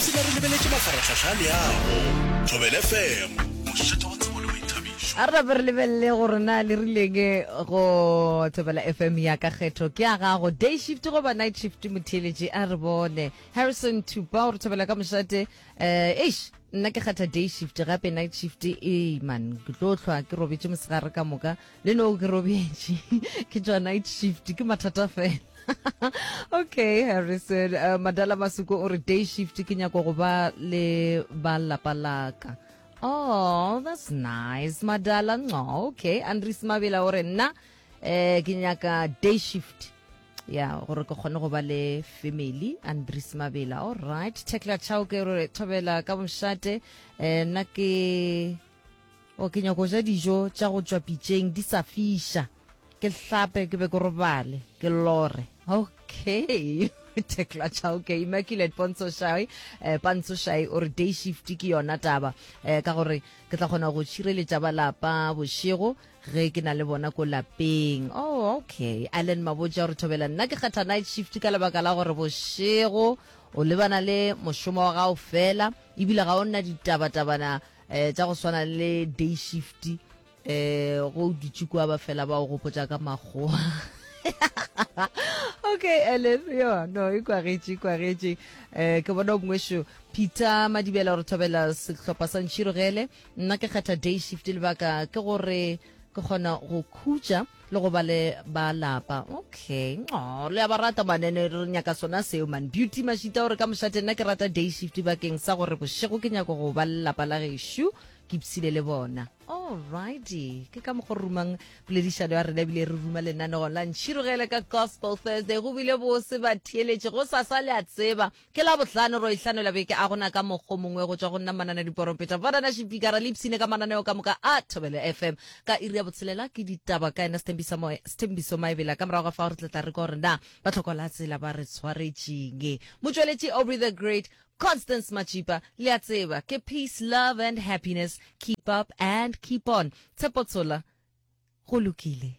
Ipshina re lebeletše mafarahlahla a leago. Thobela FM, mošate wa tsebo le boithabišo. A re nape re lebelele gore na le rileng go Thobela FM ya ka kgetho ke ya gago day shift goba night shift motheeletši a re bone Harrison Thupa o re thobela ka mošate eh eish nna ke kgetha day shift gape night shift ee man ke tlo hlwa ke robetše mosegare ka moka le no ke robetše ke tšwa night shift ke mathata fela okay Harrison uh, Madala Masuko o re day shift ke nyako go ba le ba lapa laka oh that's nice Madala no okay Andries Mabela o re nna eh ke nyaka day shift ya gore ke kgone go ba le family Andries Mabela all right Tekla Chao ke re thobela ka mošate eh nna ke o ke nyako ja dijo tša go tšwa pitšeng di sa fiša ke hlape ke be ke robale ke lore okay Tekla Chao ke Immaculate Pontsho Shai eh, Pontsho Shai o re day shift ke yona taba eh, ka gore ke tla kgona go tšhireletša ba lapa bošego ge ke na le bona ko lapeng. Oh, okay. Allen Mabotja o re thobela nna ke kgetha night shift ka lebaka la gore bošego o lebana le mošomo wa gago fela ebile ga o nna ditabatabana eh, tša go swana le day shift eh go dutše kua ba fela ba o gopotša ka makgowa okay Ellen yo no e kwagetše e kwagetše eh ke bona mongwešo Peter Madibela gore thobela sehlopha sa Ntšhirogele Nna ke kgetha day shift lebaka ke gore ke kgona go khutša le go ba le ba lapa. Okay. Oh, le a ba rata manene re nyaka sona seo man. Beauty Mashita o re ka mošate nna ke rata day shift bakeng sa gore bošego ke nyaka go ba le lapa la gešo ke ipshile le bona. Alrighty. Ke ka mokgwa re rumang poledišano ya rena ebile re ruma lenaneo la Ntšhirogele ka Gospel Thursday. Go bile bose batheeletši go sasa le a tseba Ke Labohlano, ro ihlanela beke a gona ka mokgo mongwe go tšwa go nna Manana Diporompeta. Banana Šipikara le ipshine ka mananeo ka moka a Thobela FM. Ka iri ya botshelela ke ditaba ka yena Sthembiso Moe, Sthembiso Maebela. Ka morago ga fao re tla tla re kwa gore na ba tlhoko la tsela ba re tshwaretšeng. Motšweletši Aubrey the Great, Constance Machipa, le a tseba ke peace, love and happiness. Keep up and keep on. Tshepo Tshola, go lokile.